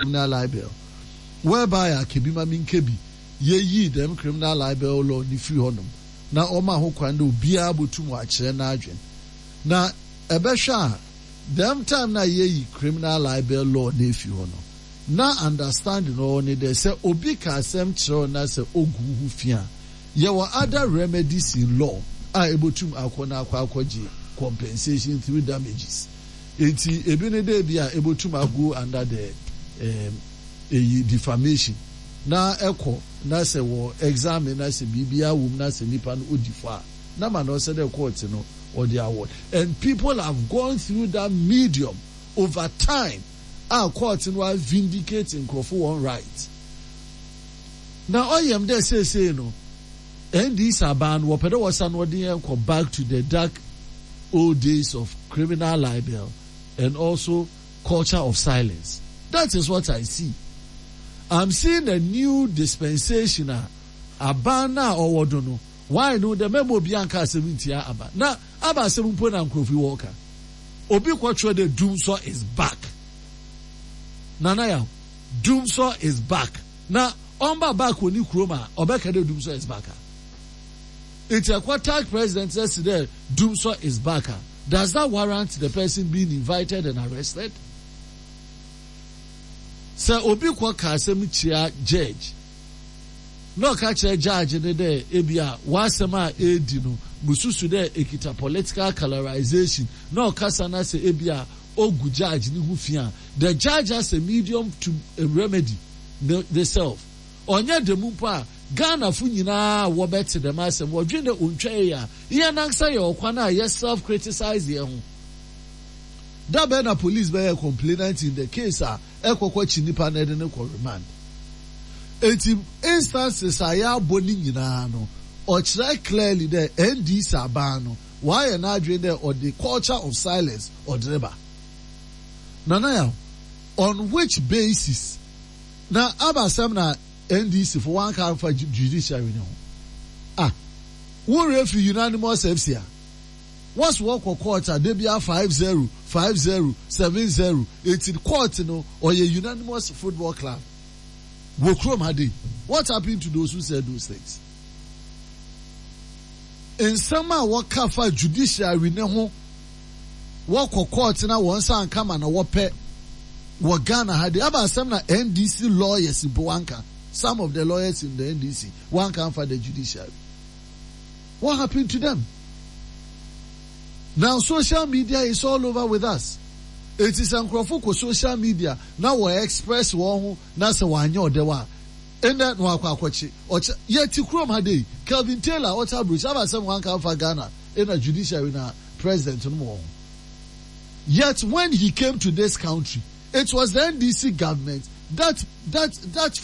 Criminal libel, whereby a kebi ma menka bi, yeyii dɛm criminal libel law no fir hɔnom na ɔmaa ho kwan dɛ obiara botum ɔakyerɛ n'adwen. Na ebɛhwɛ a, dɛm time no a yeyi criminal libel law no efi hɔ no, na understanding ɔwɔ nye dɛ sɛ obi ka asɛm kyerɛ wo na sɛ ogu wo ho fi a, yɛwɔ other remedies in law a ebotum akɔ na akɔ akɔgye compensation through damages. Ntsi ebi nye dɛ bi a ebotum ago under the um eyi defamation na ekɔ na sɛ wɔ examine na sɛ biribiara wɔ mu na sɛ nyimpa no odi fɔ a na ma na ɔsɛ dɛ court no ɔdze award and people have gone through that medium over time a court no a vindicate nkorɔfo hɔn right. Na ɔyɛ me dɛ sesei no NDC aban no wɔpɛ dɛ wɔsan wɔdze hɛn kɔ back to the dark old days of criminal libel and also culture of silence. That is what I see. I'm seeing a new dispensation a aban no a ɔwɔ do no why no dɛ mɛma obiara nka asɛm ntsia aban na aba asɛm mpo na nkorɔfo yi wɔka. Obi kɔtwerɛ dɛ Dumsor is back. Nana Yaw, Dumsor is back. Na ɔmmba back wɔ ne kurom a, ɔbɛka dɛ Dumsor is back a? Ntsi ɛkɔ tag president na se dɛ Dumsor is back a, does that warrant the person being invited and arrested? Sɛ obi kɔ ka asɛm tsia judge na ɔka kyerɛ judge no dɛ ebia w'asɛm a edi no mususu dɛ ekita political colorization na ɔkasa na sɛ ebia ogu judge no ho fi a, the judge has a medium to remedy ne ne self. Ɔnnyɛ dɛm mpo a, Ghanafo nyina a wɔbɛtse dɛm asɛm wɔdwen dɛ onntwa yie a, hɛnankasa yɛ ɔkwan a yɛ self criticize hɛnho. Da bɛn na police bɛyɛ complainant in the case a ɛkɔkɔ kye nipa na ɛde no kɔ remand? Enti instances a yɛabɔ ne nyinaa no, ɔkyerɛ clearly dɛ NDC aban no ɔayɛ n'adwen dɛ ɔde culture of silence ɔdze reba. Nana Yaw, on which basis na abasɛm na NDC fo wɔannka ammfa judiciary no ho? Ah, wo werɛ fi unanimous FC a? Wɔse wɔkɔ court a dabia 5-0, 5-0, 7-0, enti court no ɔyɛ unanimous football club wɔ kurom ha dei? What happened to those who said those things? Nsɛm a wɔka fa judiciary no ho wɔkɔ court na wɔn nsa anka ma na wɔpɛ wɔ Ghana ha de aba asɛm na NDC lawyers mpo wanka, some of the lawyers in the NDC wanka amfa the judiciary. What happened to them? Now social media is all over with us. Eti sɛ nkurɔfo kɔ social media na wɔ express wɔn ho na sɛ wɔanyɛ ɔdɛw a, ɛnɛ na wakɔ akɔkye. Ɔkyɛ yɛte kurom ha dei, Kelvin Taylor ɔte aburokyi aba asɛm wanka amfa Ghana ɛna judiciary na president no wɔ ho. Yet when he came to this country, it was the NDC government that that that.